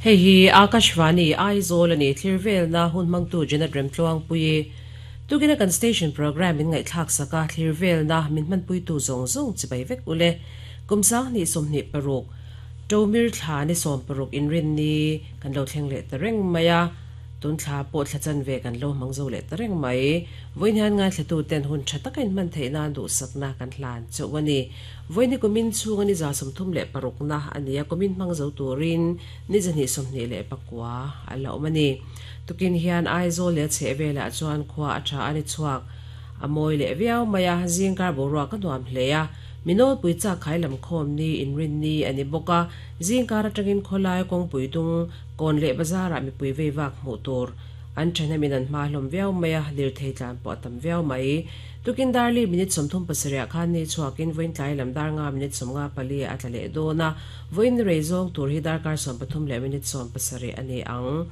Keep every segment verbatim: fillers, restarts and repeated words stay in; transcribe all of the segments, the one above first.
Hei hi Akashvani Aizawl ani thlirvel na hun mangtu Janet Remtluang pui tugina kan station program in ngai thlak saka thlirvel na min man pui tu zong zong chibai vek ule kumsang ni somni paruk tomir thla ni som paruk in rin ni kan lo thleng le tareng maya tun thla po thla chan ve kan lo mangzo le tareng mai voin han nga thlatu ten hun thatakin man theina du sakna kan hlan chawani voin ni kumin chunga ni za som thum le paruk na ania kumin mangzo turin ni jani somni le pakwa ala omani tukin hian Aizawl le chhevela chuan khwa atha ani chuak amoi le viau maya jingkar borwa ka nuam hleya minol puicha khailam khom ni inrin ni ani boka jingkar atangin kholai kong puitung kon le bazar ami pui ve wak mu tur an thana minan ma hlom viau maya lir thei tlan po tam viau mai tukin darli minute somthum pasaria khan ni chuakin voin tlai lam dar nga minute somnga pali atlale dona voin reizong tur hi dar kar som pathum le minute som pasari ani ang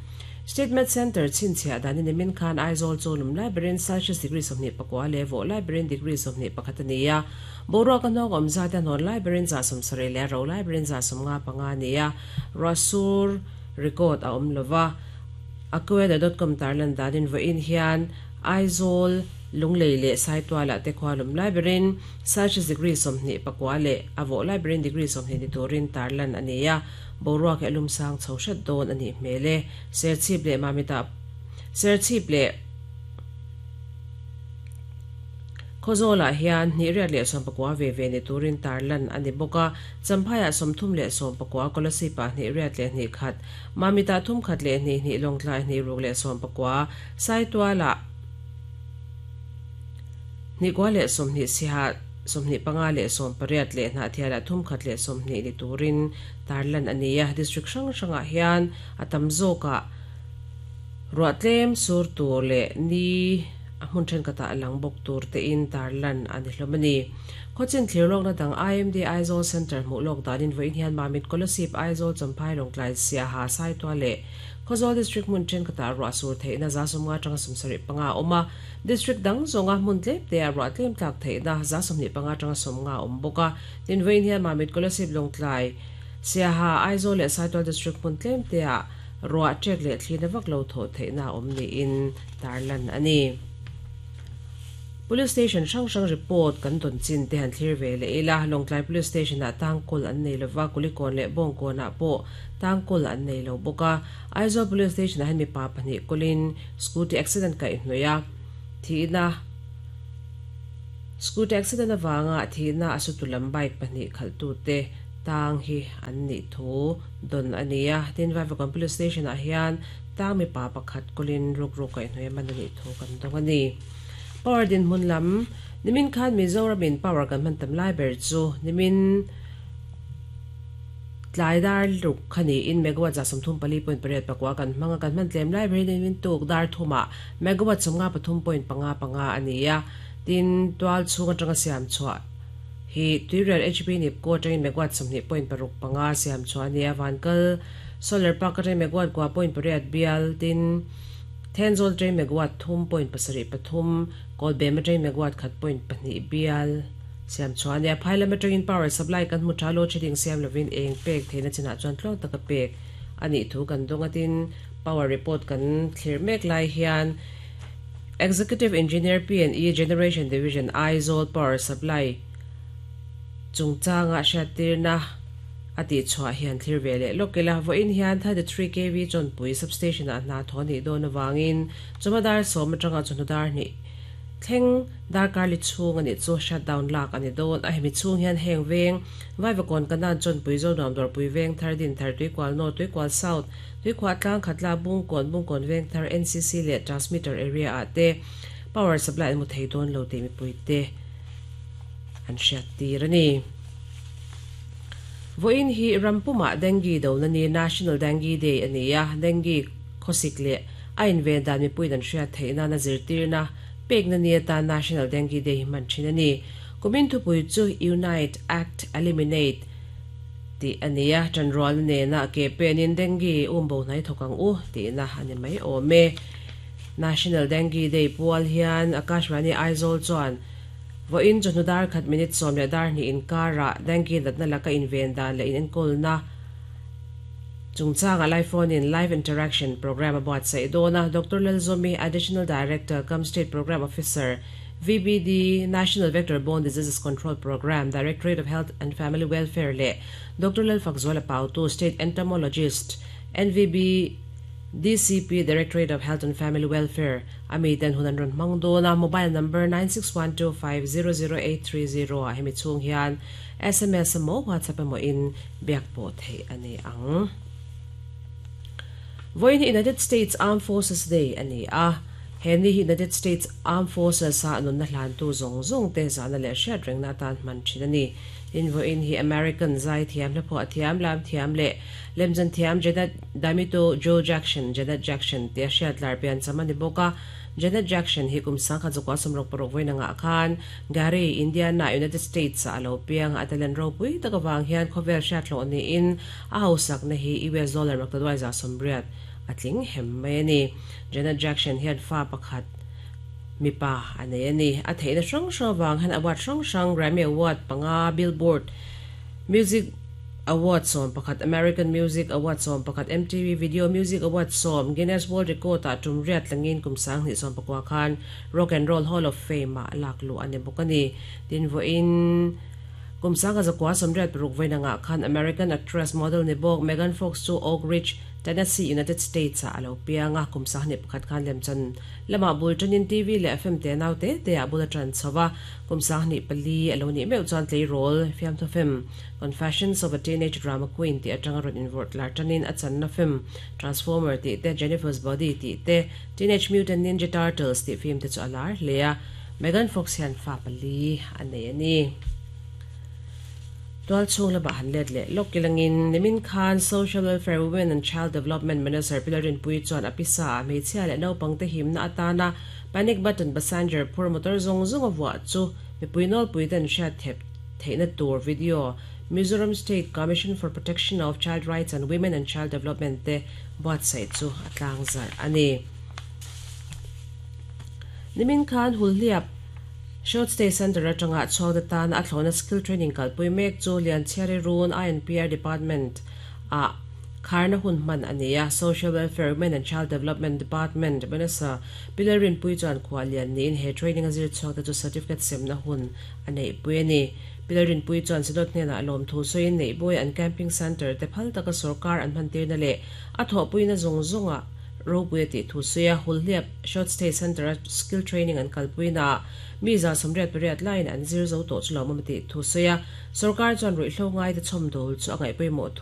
Statement Center chinchia dani nimin khan Aizawl cholum library Celsius degree somni pakwa le vo library degree somni pakhatania boro ka nok omza ta non library za som sare le ro library za som nga panga nia rasur record a om lova akweda dot com tarlan danin vo in hian Aizawl lunglei le saitwala te khwalum library Celsius degree somni pakwa le avo library degree somni ni turin tarlan ania borwa ke alum sang chhoshat don ani mele serchip le mamita serchip le khozola hian ni riat le som pakwa ve ve ni turin tarlan ani boka champhaya somthum le som pakwa kolosipa ni riat le ni khat mamita thum khat le ni ni longtlai ni ruk le som pakwa saitwala ni kwa le som ni siha somni panga le som pariat le na thiala thum khat le somni ni turin tarlan ania district sang sanga hian atam zoka ruatlem sur tur le ni ahmun then kata lang bok tur te in tarlan ani hlomani khochin thlirlok na dang I M D Aizawl Center mu lok danin voin hian mamit kolosip Aizawl champhai longtlai sia ha sai to le Khozol district mun chen kata ro asur theina za somnga tanga somsari panga oma district dang zonga mun tlep te ro tlem tlak theina za somni panga tanga somnga omboka tin vein hian mamit kolosip longtlai sia ha Aizawl le Saitual district mun tlem te a ro chek le thlina vak lo tho theina omni in tarlan ani Police station sang sang report kan don chin te han thlir ve le ila Longtlai police station a tangkul an nei lova kulikon le bongkon a po tangkul an nei lo boka Aizawl police station a hen mi pa pani kulin scooty accident ka hnoya thina scooty accident awanga thina asutulam bike pani khaltu te tang hi an ni thu don ania tin vai police station a hian tang mi pa pakhat kulin ruk ruk ka hnoya man ani thu kan dong ani Power din mun lam nimin khan Mizoram in power kan man tam library chu nimin tlaidar ruk khani in megawatt za somthum pali point pariat pakwa kan manga kan man tlem library nimin tuk dar thuma megawatt somnga pathum point panga panga ania tin twal chunga tanga siam chua hi tuirial H P nip ko tangin megawatt somni point paruk panga siam chua ania vankal solar park atang megawatt kwa point pariat bial tin Tenzol tre megawatt thum point pasari pathum kol bema tre megawatt khat point pani bial siam chuan ya phaila metering power supply kan mu thalo cheding siam lovin eng pek theina china chuan tlong taka pek ani thu kan dongatin power report kan thlir mek lai hian Executive Engineer P and E Generation Division Aizawl Power Supply chungchanga hriatirna ati chua hian thlir vele lokela vo in hian thirty-three K V chonpui substation a na thoni don awangin chumadar som atanga chunudar ni thleng darkar li chung ani chu shutdown lak ani don a hemi chung hian heng veng vaivakon kanan chonpui zo nuam dawr pui veng thardin thar tuikwal north tuikwal south tuikhwa tlang khatla bungkawn bungkawn veng thar N C C le transmitter area a te power supply mu thei don lo te mi pui te an hriat tir ani Voin hi rampuma dengue do na ni National Dengue Day ania dengue khosik le ain ve dan mi puidan hria theina na zirtir na pek na ni ta National Dengue Day man thin ani kumin thu pui chu Unite Act Eliminate ti ania chanrol ne na ke penin dengue umbo nai thokang u ti na ani mai ome National Dengue Day pual hian Akashvani Aizawl chuan vo in chonudar khat minute som le dar ni in kara dengue datna laka in ven dan le in enkol na Chungchanga live phone in live interaction program about sai dona Doctor Lalzomi, Additional Director cum State Program Officer, V B D, National Vector Borne Diseases Control Program, Directorate of Health and Family Welfare le Doctor Lalfakzuala Pautu, State Entomologist, N V B D C P, Directorate of Health and Family Welfare ami ten hunan ron mangdo na. Mobile number nine six one two five zero zero eight three zero a hemi chung hian S M S mo WhatsApp mo in biak po thei ani ang. Voin United States Armed Forces Day ani a. Heni United States Armed Forces sa anun na hlan tu zong zong te za na le hriat reng na tan man thin ani. Tin vo in hi American zai thiam le pho thiam lam thiam le lemjan thiam Janet Damito Joe Jackson, Janet Jackson te hriat lar pian chamani boka. Janet Jackson hi kum sangkha zakua sawmruk paruk voi nga khan Gary, Indiana, United States a alo piang. Atalen ro pui takawang hian khovel hriat lo ni in a hausak na hi U S dollar maktadwai za somriat atling hem mai ani. Janet Jackson hian fa pakhat mipa anei ani. A theina hrang hrang wang han award hrang hrang, Grammy Award panga, Billboard Music Award som pakhat, American Music Award som pakhat, M T V Video Music Award som, Guinness World Record a tum riat langin kum sang ni som pakwa khan Rock and Roll Hall of Fame ma laklu ani bukani. Tin vo in kum sanga zakwa somriat paruk voi nga khan American actress, model ni bok Megan Fox chu Oak Ridge, Tennessee, United States a alo pianga. Kum sa ni pakhat khan lem chan lama bul chanin T V le F M te nau te te a bula tran chawa. Kum sa ni pali alo ni meu chuan tlei rol fiam tho film Confessions of a Teenage Drama Queen ti atanga ron invert lar chanin. A chan na film Transformer ti te, Jennifer's Body ti te, Teenage Mutant Ninja Turtles ti film te chu alar lea. Megan Fox hian fa pali anei ani. Tual chung la ba han let le lokilangin nimin khan Social Welfare, Women and Child Development Minister Pilarin Pui chuan apisa me chhia le no pangte him na atana panic button passenger phur motor zong zong awwa chu mi puinol puiten hriat thep theina tur video Mizoram State Commission for Protection of Child Rights and Women and Child Development te buatsaih chu atlang zar ani. Nimin khan Hulhliap Short Stay Center atanga chawda tan a thlona skill training kalpui mek chu Lianchhiari Run I N P R Department a kharna hun man ania. Social Welfare, Women and Child Development Department Minister Pilarin Pui chuan khwalian nin he training azir chawda chu certificate semna hun anei pui ani. Pilarin Pui chuan sidot hne na alom thu soin nei boy an camping center te phal taka sarkar an man tir na le a tho puina zong zonga ropui ti thu suya. Hulhliap Short Stay Center skill training an kalpuina mi za somriat pariat line an zir zo to chulo mamati thu suya. Sarkar chuan rui hlo ngai te chom dol chu angai pui mo thu.